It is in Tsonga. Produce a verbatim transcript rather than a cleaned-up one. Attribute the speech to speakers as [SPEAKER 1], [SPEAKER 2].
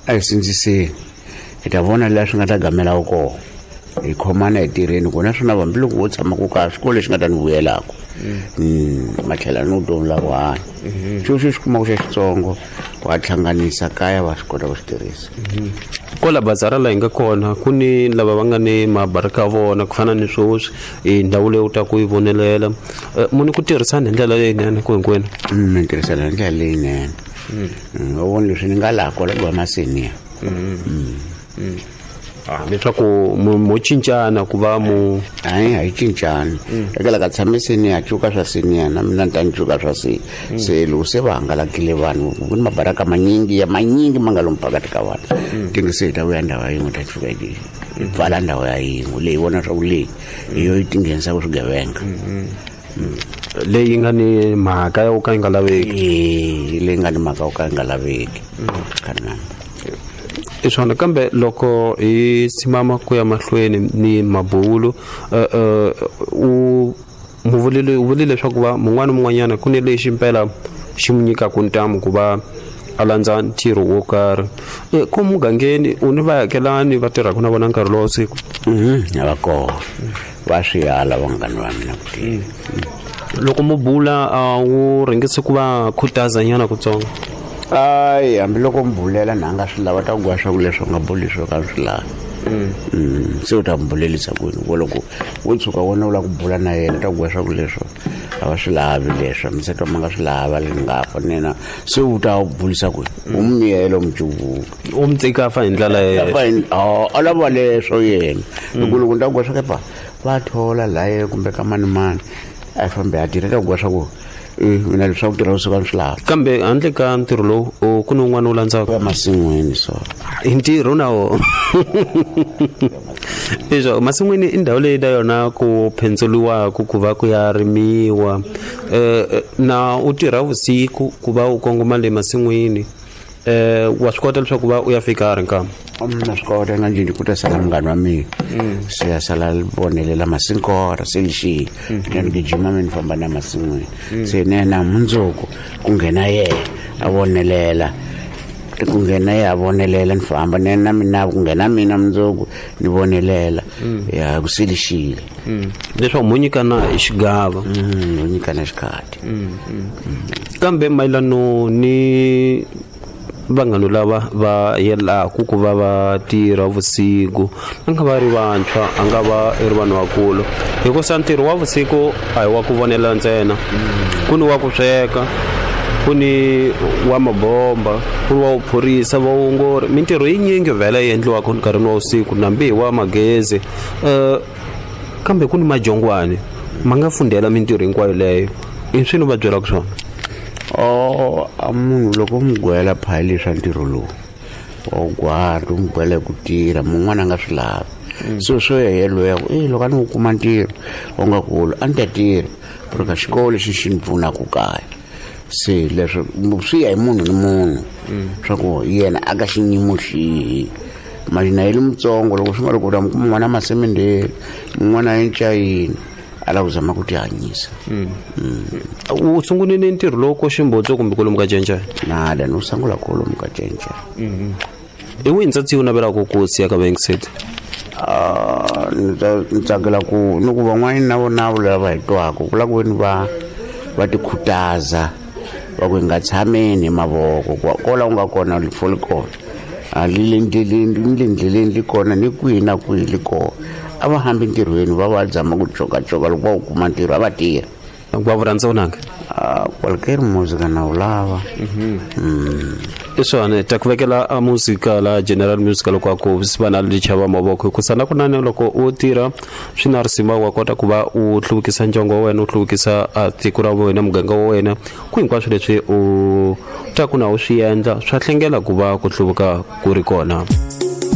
[SPEAKER 1] A hi sindziseni hi ta vona laha swi nga ta gamela kona hi khomana hi tirheni kona naswona hambiloko wo tshama ku kaya xikolo lexi nga ta ni vuyelaka matlhela ni vutomi la ku hanya xo xo xi kumaka xa xitsongo wa hlanganisa kaya va swi kota ku swi tirhisa.
[SPEAKER 2] Kwala bazara laha hi nga kona ku ni lava va nga ni mabaraka ya vona ku fana ni sweswi i ndhawu leyi u ta ku yi vonelela muni ku tirhisana hi ndlela leyinene ku hinkwenu.
[SPEAKER 1] Ni tirhisana hi ndlela leyinene va vona leswi ni nga laha kwala ku va maseniya
[SPEAKER 2] leswaku mo cincana ku va mu
[SPEAKER 1] hayi a hi cincani eka la ka tshame seniya cuka swa seniya na mina ni ta ni cuka swa se se loko se va hangalakile vanhu ku ni mabaraka manyingi ya manyingi ma nga lomu phakathi ka vanhu tingi se hi ta vuya ndhawu ya yin'we ta fika hi pfala ndhawu ya yin'we leyi vona swa ku leyi hi yo yi tinghenisaka swigevenga
[SPEAKER 2] leyi nga ni mhaka ya ku ka yi nga laveki
[SPEAKER 1] leyi nga ni mhaka ya ku ka yi nga laveki kana
[SPEAKER 2] i swona. Kambe loko hi simama ku ya mahlweni ni mabulo u muvulile u vulile leswaku va mun'wana mun'wanyana ku ni lexi impela xi n'wi nyikaka ntamu ku va a landza ntirho wo karhi ko mugangeni u ni vaakelani va tirhaka na vona nkarhi lowa siku
[SPEAKER 1] a va kona va swi ala vanghana va mina ku tirha.
[SPEAKER 2] Loko mu bula a wu rhangisi ku va khutaza nyana kutsongo?
[SPEAKER 1] Ayi hambiloko mi bulela na nga swi lava ta ku gwa swa ku leswi u nga buli swo ka swi lavi se u ta mi bulelisa kwini ku loko wo tshuka wona u lava ku bula na yena ta ku gwa swa ku leswo a va swi lavi leswo mi se twa ma nga swi lava le nga fa nena se u ta bulisa kwini u mi miyela u mi cuvuka
[SPEAKER 2] u mi tsika fa hi ndlela
[SPEAKER 1] a lava leswo yena loko loko ni ta ku gwa swa kepa va thola laye kumbe ka mani mani a fambe a tirha ta ku gwa swa ku mina leswaku tirha vusiku a ni swi lavi.
[SPEAKER 2] Kambe handle ka ntirho lowu ku ni un'wana wu landzaka
[SPEAKER 1] masin'wini so
[SPEAKER 2] i ntirho na wona leswo masin'wini i ndhawu leyi na yona ku phendzeliwaka ku va ku ya rimiwa na u tirha vusiku ku va u kongoma le masin'wini wa swi kota leswaku va u ya fika ri nkama?
[SPEAKER 1] Na swi kota nga njhini ku ta sala munghana wa mina se ya sala vonelela masinkora se lexile ni gijima mi ni famba na masin'wini se nena mundzuku ku nghena yena a vonelela ku nghena yena a vonelela ni famba nena mina ku nghena mina mundzuku ni vonelela ya ku se lexile
[SPEAKER 2] leswaku mo nyikana hi xigava
[SPEAKER 1] mo nyikana xikhati.
[SPEAKER 2] Kambe mayelano ni vanghana lava va yelaku ku va va tirha vusiku a nga va ri vantshwa a nga va ri vanhu vakulu hikusa ntirho wa vusiku a hi wa ku vonela ntsena ku ni wa ku sweka ku ni wa mabomba ku ni wa vuphorisa vaongori mintirho yinyingi vhele yi endliwaka nkarhini wa vusiku nambi hi wa magezi um kambe ku ni majongwani ma nga fundhela mintirho hinkwayo leyo i swi ni va byelaka swona?
[SPEAKER 1] O a munhu loko mi gwela phayili swa ntirho lowu wa wu gwari u mi gwela hi ku tirha mun'wana a nga swi lavi so swo ya yelweyo ku e loko a ni wu kuma ntirho wu nga kulu a ni ta tirha pero ka xikolo lexi xi ni pfunaka kaya se leswo swi ya hi munhu ni munhu swa ku yena a ka xiyimo xihi mali na yele mutsongo loko swi nga ri ku ta mi kuma n'wana masemendheni mun'wana a encayini a lava ku zama ku tihanyisa.
[SPEAKER 2] U sungulile ntirho lowu ko Ximbodzo kumbe kwalomu ka Cencane?
[SPEAKER 1] Nada ni wu sungula kwalomu ka Cencane.
[SPEAKER 2] Hi wihi ntsatsi u navelaka ku siya ka vayingiseti?
[SPEAKER 1] Ni tsakela ku ni ku van'wani na vona lava hi twaka ku lava ku veni va va tikhutaza va ku hi nga tshameni hi mavoko kola u nga kona rifo li kona a li le ndleleni ni le ndleleni li kona ni kwihi na kwihi li kona a va hambi ntirhweni va va zama ku cokacoka loko va wu kuma ntirho a va tirha.
[SPEAKER 2] Va vu rhandza vunanga?
[SPEAKER 1] Kwalukeri muzika na wu lava.
[SPEAKER 2] I swona ta ku vekela a muzika la general music loko a ku va na lichava mavoko hikusa na kunene loko u tirha swi na risima wa kota ku va u hluvukisa ndyangu wa wena u hluvukisa tiko ra wena muganga wa wena ku hinkwaswo leswi u ta ku na u swi endla swa hlengela ku va ku hluvuka ku ri kona.